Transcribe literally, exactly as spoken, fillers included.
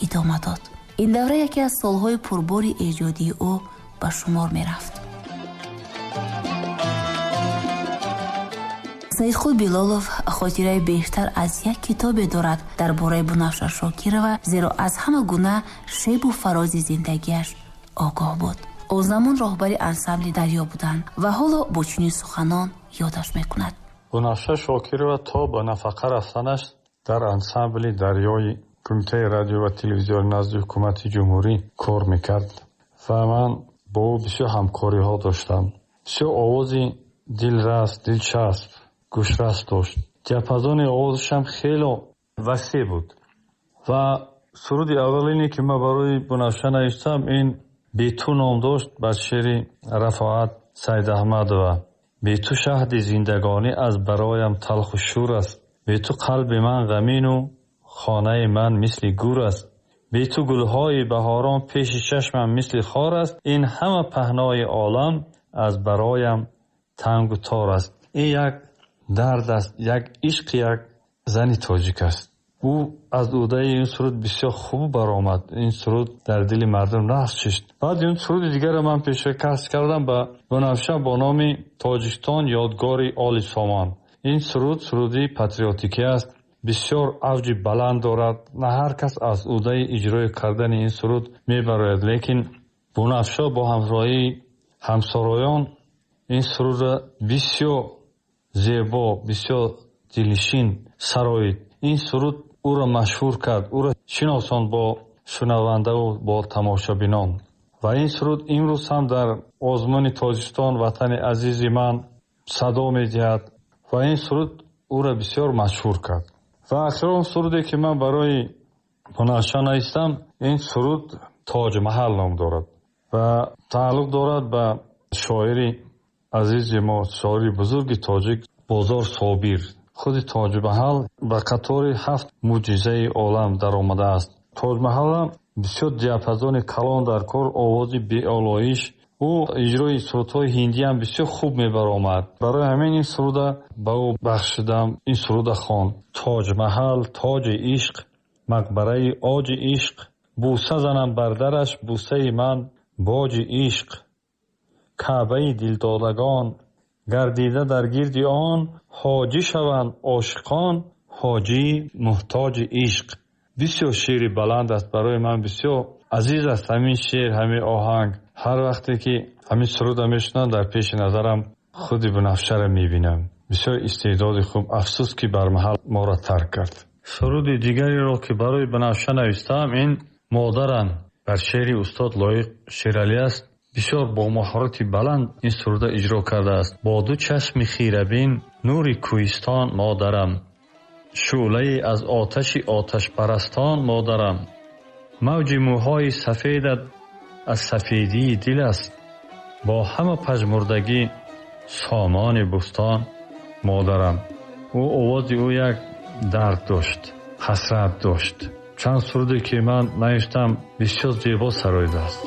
Идома дод. Ин давра яке аз солҳои пурбори эҷодии ӯ ба шумор мерафт. Саидқул Билолов хотираи бештар аз як китобе дорад дар бораи Бунафша Шокирова, зеро аз ҳама гуна шебу фарози зиндагиаш огоҳ буд. Он замон роҳбари ансамбли «Дарё» буданд ва ҳоло бо чунин суханон ёдаш мекунад. Бунафша Шокирова то ба нафақа рафтанаш дар ансамбли «Дарёи» Кумитаи радио ва телевизиони назди ҳукумати ҷумҳурӣ кор мекард ва ман бо ӯ бисёр ҳамкориҳо доштам. Бисёр овози дилрас, дилчасп, гӯшрас дошт. Диапазони овозашам хело васеъ буд. Ва суруди аввалине, ки ман барои Бунафша навиштам, ин «Бе ту» ном дошт, бар шеъри Рафоат Сайдаҳмадова. Бе ту шаҳди зиндагонӣ аз бароям талху шӯр аст. Бе ту қалби ман ғамину хонаи ман мисли гур аст. Бе ту гулҳои баҳорон пеши чашмам мисли хор аст. Ин ҳама паҳнои олам аз бароям тангу тор аст. Ин як дард аст, як ишқи як зани тоҷик аст. Ӯ аз ӯдаи ин суруд бисёр хуб баромад. Ин суруд дар дили мардум нақш шуд. Баъд ин суруди дигарро ман пешкаш кардам ба Бунафша бо номи «Тоҷикистон ёдгори оли сомон». Ин суруд суруди патриотикӣ аст, бисёр авҷи баланд дорад. На ҳар кас аз ӯдаи иҷрои кардани ин суруд мебарояд, лекин Бунафша бо ҳамроҳии ҳамсароён ин сурудро бисёр зебо, бисёр дилнишин сароид. Ин суруд ӯро машҳур кард, ӯро шиносонд бо шунавандаву бо тамошобинон. Ва ин суруд имрӯз ҳам дар озмуни «Тоҷикистон ватани азизи ман» садо медиҳад ва ин суруд ӯро бисёр машҳур кард. Ва охирон суруде, ки ман барои Бунафша навиштам, ин суруд «Тоҷмаҳал» ном дорад ва тааллуқ дорад ба шоири азизи мо, шоири бузурги тоҷик Бозор Собир. Худи Тоҷмаҳал ба қатори ҳафт мӯъҷизаи олам даромадааст. Тоҷмаҳалам бисёр диапазони калон дар кор, овози беолоиш. Ӯ иҷрои сурудҳои ҳиндиам бисёр хуб мебаромад. Барои ҳамин ин суруда ба ӯ бахшидам, ин суруда хонд. Тоҷмаҳал, тоҷи ишқ, мақбараи оҷи ишқ, бӯса занам бар дараш, бӯсаи ман боҷи ишқ, каъбаи дилдодагон, гардида дар гирди он, ҳоҷӣ шаванд ошиқон, ҳоҷии муҳтоҷи ишқ. Бисёр шеъри баланд аст, барои ман бисёр азиз аст ҳамин шеър, ҳамин оҳанг. Ҳар вақте ки ҳамин сурудро мешунавам, дар пеши назарам худи Бунафшаро мебинам. Бисёр истеъдоди хуб, афсӯс ки бармаҳал моро тарк кард. Суруди дигареро, ки барои Бунафша навиштаам, ин «Модарам» бар шеъри устод Лоиқ Шералӣ аст. Бисёр бо маҳорати баланд ин суруда иҷро кардааст. Бо ду чашми хирабин нури кӯҳистон модарам, шӯълае аз оташи оташпарастон модарам, мавҷи мӯҳои сафедат аз сафедии дил аст, бо ҳама пажмурдагӣ сомони бӯстон модарам. Ӯ овози ӯ як дард дошт, ҳасрат дошт. Чанд суруде, ки ман навиштам, бисёр зебо сароидааст.